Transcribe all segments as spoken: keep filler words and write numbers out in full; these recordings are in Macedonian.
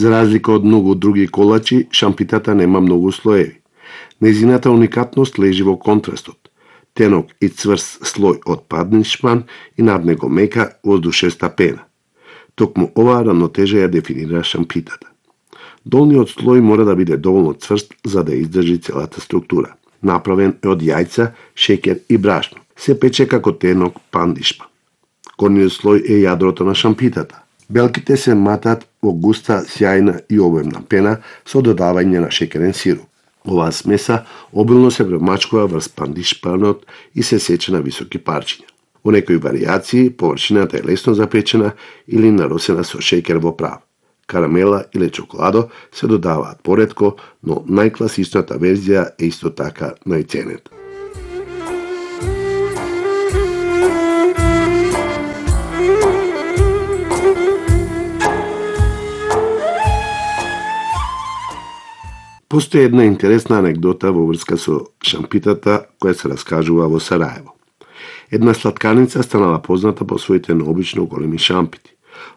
За разлика од многу други колачи, шампитата нема многу слоеви. Нејзината уникатност лежи во контрастот. Тенок и цврст слој од паднишман и над него мека воздушеста пена. Токму оваа рамнотежа ја дефинира шампитата. Долниот слој мора да биде доволно цврст за да издржи целата структура. Направен е од јајца, шеќер и брашно. Се пече како тенок пандишман. Горниот слој е јадрото на шампитата. Белките се матат во густа, сјајна и обемна пена со додавање на шеќерен сируп. Оваа смеса обилно се премачкува врз пандишпанот и се сече на високи парчиња. Во некои варијации површината е лесно запечена или наросена со шеќер во прав. Карамела или чоколадо се додаваат поретко, но најкласичната верзија е исто така најценета. Постои една интересна анегдота во врска со шампитата која се раскажува во Сараево. Една слаткарница станала позната по своите необично големи шампити.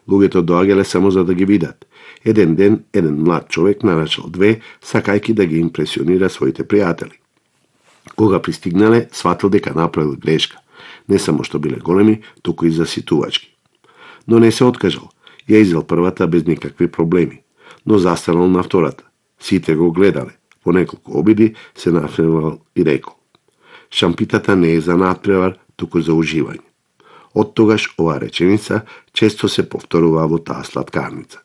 Луѓето доаѓале само за да ги видат. Еден ден, еден млад човек нарачал две, сакајки да ги импресионира своите пријатели. Кога пристигнале, сватил дека направил грешка. Не само што биле големи, туку и заситувачки. Но не се откажал. Ја изел првата без никакви проблеми, но застанал на втората. Сите го гледале. По неколку обиди се нафревал и рекол: шампитата не е за надпревар, туку за уживање. Од тогаш оваа реченица често се повторува во таа слаткарница.